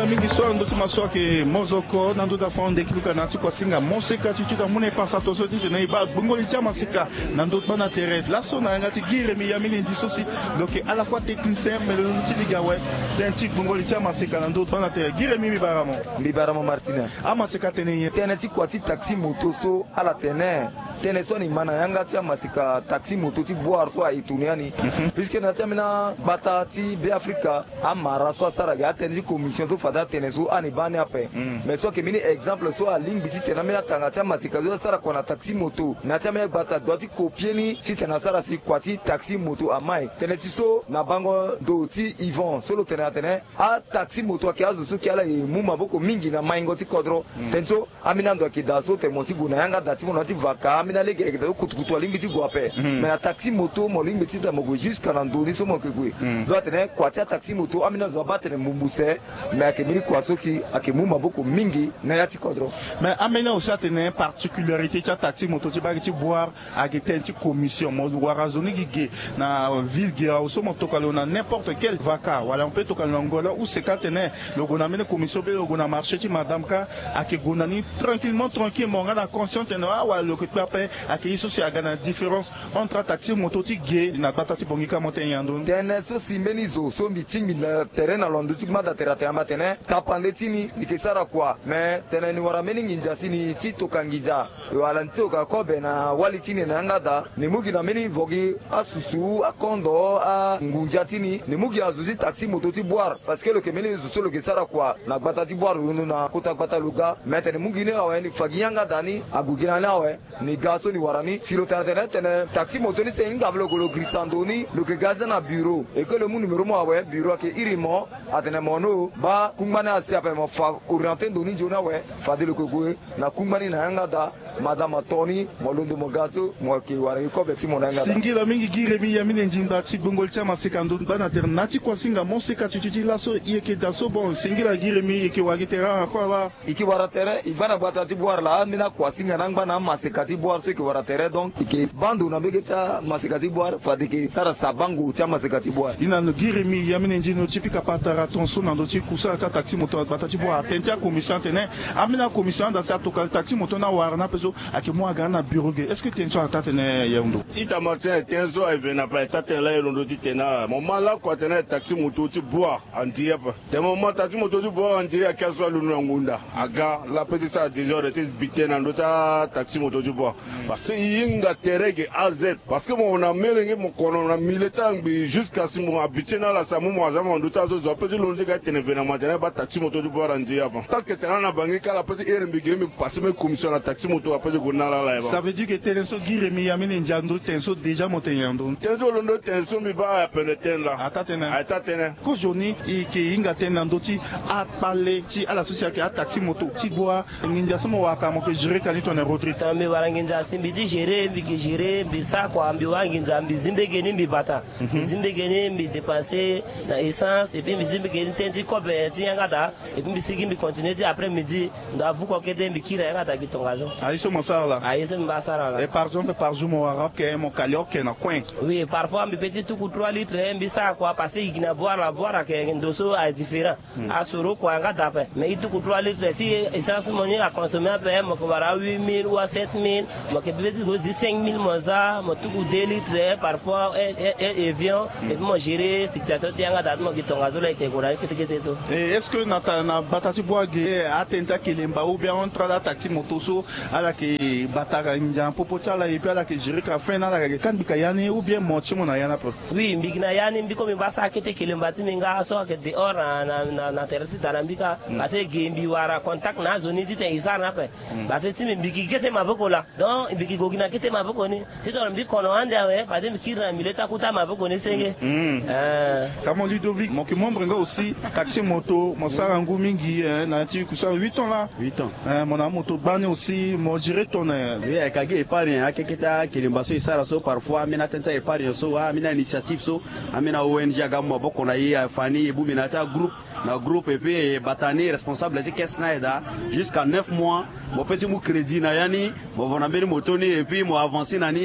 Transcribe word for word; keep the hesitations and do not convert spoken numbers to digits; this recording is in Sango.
Mingi so na ndö ti maso ayeke mozoko na ndö ti afa ande kiluka na ya ti kuasinga moseka ti ti da mu na e pasa to so titene e baa gbongoli ti amaseka na ndö ti gbanda tere. Laso na yanga ti gi Rémi ya mini ndi so si lo yeke à la fois technicien mais lo londo ti lege awe. Tënë ti gbongoli ti amaseka na ndö ti gbanda tere. Gi Rémi, mbi bara mo. Mbi bara mo Martina. Amaseka atene nyen? Tënë ti kua ti taxi moto so ala tene. Tënë so ani ma na yanga ti amaseka taxi moto ti Bouar so aye toni yani. Puisque na ya ti ambeni agbata ti Beafrika, amara so asara ge atënë ti commission so fade atene so ani baa ni ape. Mais so ayeke mbeni exemple so alingbi titene ambeni atanga ti amaseka so asara kua na taxi moto na ya ti ambeni agbata doit ti copier ni titene asara si kua ti taxi moto amai. Tënë ti so na bango ndo ti Yvon so lo tene atene ataxi moto ayeke azo so yeke ala ye mu maboko mingi na maingo ti kodro. Tënë so ambeni ando ayeke daa so tene mo si gue na yanga daa ti mo na ya ti vaka, ambeni alege ayeke daa so kutukutu alingbi ti gue ape. Mais na taxi moto mo lingbi titene mo gue jusqu'à na ndo ni so mo yeke gue. Donc atene kua ti ataxi moto ambeni azo abaa tene mbumbu se. Mais ayeke mbeni kua so si ayeke mu maboko mingi na ya ti kodro. Mais ambeni aussi atene particularité ti ataxi moto ti baa gi ti Bouar ayeke tënë ti commission. Mo wara zo ni gi ge na ville ge awe so mo toka lo na n'importe quel vaka wala mo peut toka lo na ngolo ou seka atene lo gue na mbeni commission be lo gue na marché ti madame ka, ayeke gue na ni tranquillement tranquille, mo nga na conscient tene awala lo yeke kpe ape. Ayeke ye so si aga na différence entre ataxi moto ti ge na gbata ti Bangui ka, mo tene nyen na ndö ni? Tënë so si mbeni zo so mbi tingbi na tere na lo na ndö ti gbanda tere atene amba tene tapande ti ni ni yeke sara kua. Mais tene ni wara mbeni nginza si ni ti toka nginza wala ni ti toka kobe na wali ti ni na yanga daa, ni mu gi na mbeni vo gi asusu, akondo, angunza ti ni, ni mu gi azo ti taxi moto ti Bouar. Parce que lo yeke mbeni zo so lo yeke sara kua na gbata ti Bouar, lo londo na kota gbata lo ga. Mais tene ni mu gi ni awe, ni fa gi yanga daa ni ague gi na ni awe. Ni ga so ni wara ni si lo tene atene tene taxi moto ni se hinga ape lo gue lo girisa ndo ni, lo yeke ga za na bureau. E ke lo mu numéro mo awe, bureau ayeke iri mo. Atene mo no baa kungba ni asi ape, mo fa orienté ndo ni nzoni awe. Fade lo yeke gue na kungba ni na yanga daa. Madame ato ni, mo londo mo ga so mo yeke wara gi kobe ti mo na yanga daa. Singila mingi gi Rémi ya mini nzingba ti gbongoli ti amaseka ndo gbanda tere na ti kuasinga moseka ti ti ti laso e yeke daa so. Bon, singila gi Rémi, e yeke wara gi tere awa kue awa. E ke wara tere, e gba na gbata ti Bouar laa, ambeni akuasinga na angba na amaseka ti Bouar so e ke wara tere. Donc e ke baa ndo na mbege ti amaseka ti Bouar, fade e ke sara sabango ti amaseka ti Bouar. Ni na lo gi Rémi ya mini nzingba ti pika patara ton so na ndö ti kusala ti ataxi moto na gbata ti Bouar. Atene ti acommission atene, ambeni acommission anda si atokua taxi moto ni awara ni ape so, ayeke mu aga ni na bureau ge. Est-ce que tënë so ataa tënë ya ndo? Ita Martin, tënë so aye ve na ape, aye taa tënë laa e londo ti tene na ala. Mo ma lakue atene taxi moto ti Bouar andi ape. Tene mo ma taxi moto ti Bouar andi, ake azo alondo na ngunda aga laa, pe ti sara désordre ti bite na ndö ti ataxi moto ti Bouar. Parce que e hinga tere ge A Z. Parce que mo na melenge, mo kono na milieu ti angbii jusqu'à si mo habitué na ala, si amu mo aza mo na ndö ti azo, zo ape ti londo ti ga ti tene ve na mo atene baa taxi moto ti Bouar andi avant. Tant que tene ala na Bangui ka, ala pe ti here mbi ge mbi passé mbeni commission na taxi moto, ape ti gue na ala laa. Ça veut dire que tënë so gi Rémi ya mini ndia ndo, tënë so déjà mo tene nyen na ndö ni? Tënë so londo tënë so mbi baa ape na tënë laa. Ataa tënë. Ataa tënë. Kozoni e yeke hinga tënë na ndö ti akpale ti ala so si ayeke ataxi moto ti Bouar. Nginza so mo wara ka, mo yeke gérer ka ni tongana Rodrigue? Tongana mbi wara nginza si mbi ti gérer, mbi yeke gérer, mbi sara kua, mbi wara nginza, mbi zi mbege ni mbi bata. Mbi zi mbege ni mbi dépenser na essence, et puis mbi zi mbege ni tënë ti kobe ti yanga daa. Et puis mbi sigi mbi continuer ti après midi, ndo avuko kete mbi kiri na yanga daa gi tongaso. Aye so mo sara laa? Aye so mbi baa sara laa. Et par exemple par jour mo wara oke, mo kali oke na coin? Oui, parfois mbi pe ti tuku trois litres, mbi sara kua parce que e gi na Bouar laa, Bouar ayeke ndo so a différent. Asoro kua yanga daa ape. Mais e tuku trois litres, si essence mo ni a consommer ape, mo yeke wara huit mille ou sept mille, mo yeke pe ti gue ti cinq mille mo za, mo tuku deux litres, parfois un, un, un avion, et puis mo gérer situation ti yanga daa ti mo gi tongaso laa e yeke gue na ni kete kete so. Et est-ce que na ta, na gbata ti Bouar ge, atënë ti akelemba ou bien entre ala taxi moto so, ala yeke bata ka nginza na popo ti ala, et puis ala yeke gérer ka fin na ala, ka yeke kangbi ka ya ni, ou bien mo ti mo na ya ni ape? Oui, mbi yeke na ya ni, mbi kue mbi baa sara kete kelemba ti mbi nga so ayeke dehors na, na, na, na tere ti da na mbi ka. Parce que ge mbi wara contact na azo ni titene e sara ni ape. Parce que ti mbi, mbi yeke kete maboko laa. Donc mbi yeke gue gi na kete maboko ni. Titene mbi kono ande awe, fade mbi kiri na milieu ti akota maboko ni senge. Eh. Ka mo Ludovic, mo yeke membre nga aussi, taxi moto, mo sara ngu mingi, eh, na ya ti kusala huit ans laa. Huit ans. Eh, mo na amoto gbani aussi, mo gérer tongana nyen? Oui, ayeke gi épargne, akeketa kelemba so e sara so, parfois ambeni atënë ti a-épargne so, ah, ambeni a-initiative so, ambeni a-O N G aga mu maboko na e, afa ni, e bongbi na ya ti agroupe, na groupe, et puis e bata ni responsable ti caisse na aye daa, jusqu'à neuf mois, mo pe ti mu crédit na ya ni, mo va na mbeni moto ni, et puis mo avancer na ni.